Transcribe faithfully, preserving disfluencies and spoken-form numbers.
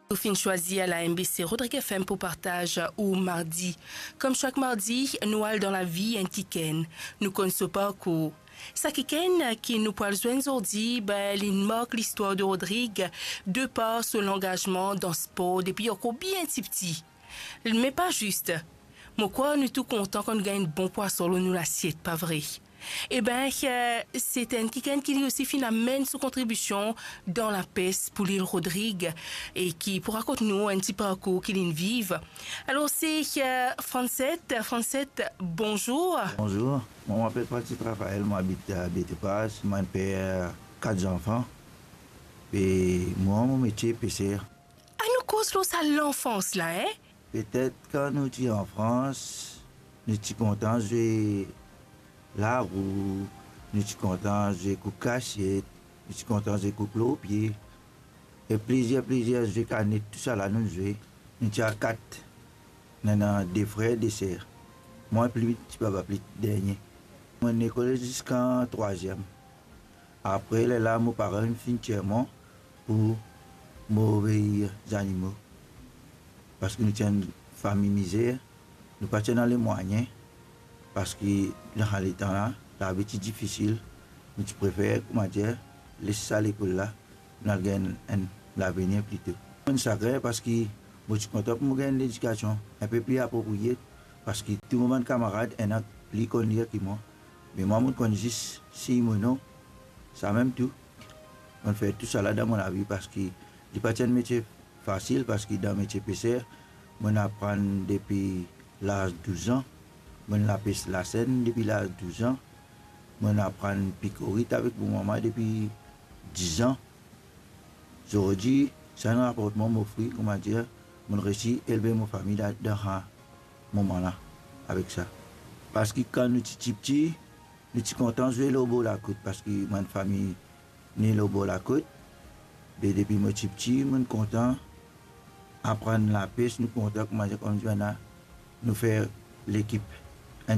Ou finn swazir la M B C Rodrig F M pou partaz ou mardi. Kom sak mardi, nou al dan lavi enn kikenn. Nou konn so parkour. Sa kikenn ki nou pou al zwenn zordi, be, li mark listwar de Rodrig, de par so langazman dan spor depi ankor bien tipti. Me pa zis. Mo krwar nou tou kontan kan nou gagn enn bon pwason lor nou lasiet, pa vre? Eben, eh, se enn kikenn ki li osi finn amenn so kontribision dan lapes pou lil Rodrig e ki pou rakont nou enn ti parkour ki linn viv. Alor, se, eh, Francette. Francette, bonzour. Bonzour. Moi, je m'appelle Francis Raphaël, moi, j'habite à Bétepaz. Moi, père quatre enfants. Et moi, mon métier, pêcheur. Anou koz lor sa lanfans la, en? Petet kan nou ti an Frans, nou ti kontan zwe larou, nou ti kontan zwe kouk kasiet, nou ti kontan zwe kouk lor pie, e plizier, plizier zwe kanet, tousala nou zwe. Nou ti a kat, nou ena de frer, de ser. Mwa pli piti, papa pli dernie. Mo lekol ziska trwaziem. Apre lerla, mo paran finn tir mwa pou mo vey zanimo. Parski nou ti enn fami mizer, nou pa ti ena lemwayin, parski dan sa letan la, lavi ti difisil, nou ti prefer, koumadir, les sa lekol la, nou al gagn enn lavenir plito. Mo sagrin parski mo ti kontan pou mo gagn enn ledikasion enpe pli apropriye, parski tou mo bann kamarad ena pli konn lir ki mwa. Me mwa, mo konn zis sign mo non, samem tou. Mo fer tousala dan mo lavi parski li pa ti enn metie fasil, parski dan metie peser, mo aprann depi laz douz an, mo lapes lasenn depi laz douz an, mo aprann pikorit avek mo mama depi diz an. Zordi, sa enn raport mwa, mo fri, koumadir, mo resi elve mo fami la, dan sa moman la, avek sa. Parski kan nou ti tipti, nou ti kontan zwe lor bor lakout, parski bann fami ne lor bor lakout. Be depi mo tipti, mo kontan aprann lapes, nou kontan, koumadir, koumsa nou fer lekip.